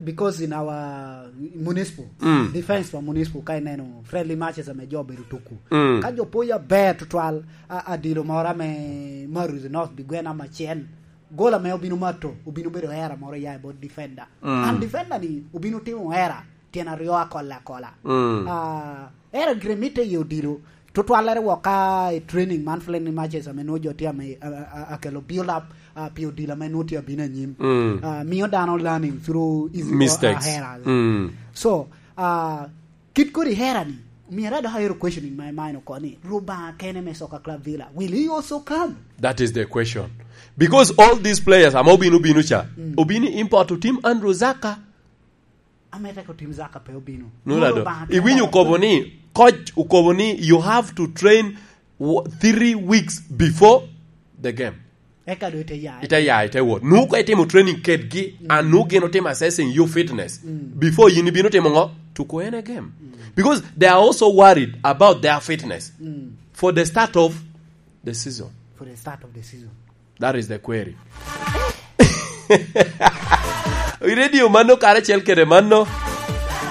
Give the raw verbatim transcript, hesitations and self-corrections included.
Because in our municipal, mm, defense pa municipal, ka ineno friendly matches ame jo obedo tuku, mm, ka jo poyo aber tutwal, a, adilo moro ame Maruzi North bigwena macen, gol ame obino mato, obino bedo era moro ya i bot defender. Mm. And defender ni obino timo era tyen aryo akola akola. Mm. Ah, era gire mitte i odilo. Tutwallere wok ka i training man, friendly matches ame nwo jo tye ame, a, a, a, akelo build up, ah, pi odilo ame nwo tye abino anyim. Mm. Ah, mio dano learning through his, mistakes, ah, errors. Mm. So, ah, kit kodi hera ni, myero adok ayero questioning my mind oko ni, Rubanga kene me Soccer Club Villa, will he also come? That is the question. Because all these players, ama obino, obino cha, mm, obino import to Team Andrew Zaka. Ame tek otim Zaka pe obino. Nulado. Iwinyo okobo ni, coach okobo ni, you have to train w-, three weeks before the game. Eka do ite ya. Ite ya, ite wot. Nu ko itimo training kedgi, mm, and nu gin otimo assessing your fitness. Mm. Before yin ibino timo ngo? To go in a game. Mm. Because they are also worried about their fitness, mm, for the start of the season. For the start of the season. That is the query. I radio mano karacel kede mano.